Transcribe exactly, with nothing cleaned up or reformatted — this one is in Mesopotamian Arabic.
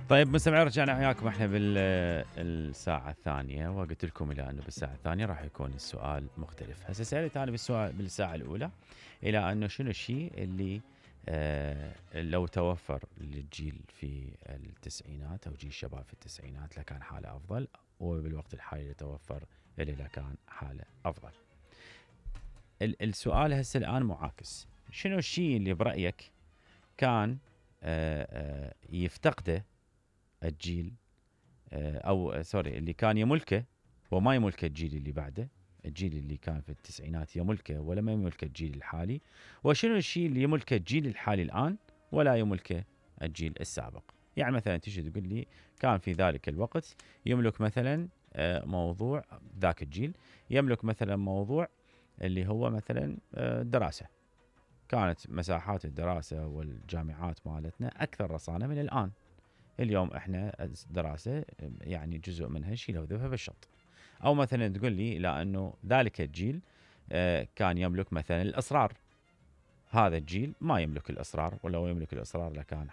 طيب مستمعين، رجعنا وياكم احنا بالساعة الثانية، وقلت لكم الى انه بالساعة الثانية راح يكون السؤال مختلف. هسه سألت انا بالسؤال بالساعة الاولى الى انه شنو الشيء اللي آه لو توفر للجيل في التسعينات او جيل الشباب في التسعينات لكان حاله افضل، وبالوقت الحالي يتوفر اللي لكان حاله افضل. السؤال هسه الان معاكس، شنو الشيء اللي برأيك كان آه آه يفتقده الجيل او سوري اللي كان يملكه وما يملكه الجيل اللي بعده، الجيل اللي كان في التسعينات يملكه ولا ما يملكه الجيل الحالي، وشنو الشيء اللي يملكه الجيل الحالي الان ولا يملكه الجيل السابق. يعني مثلا تجي تقول لي كان في ذلك الوقت يملك مثلا موضوع، ذاك الجيل يملك مثلا موضوع اللي هو مثلا دراسة، كانت مساحات الدراسة والجامعات مالتنا اكثر رصانة من الان. اليوم احنا الدراسة يعني جزء منها شيله وذبها بالشط. او مثلا تقول لي لا انه ذلك الجيل كان يملك مثلا الاسرار، هذا الجيل ما يملك الاسرار، ولو يملك الاسرار لكان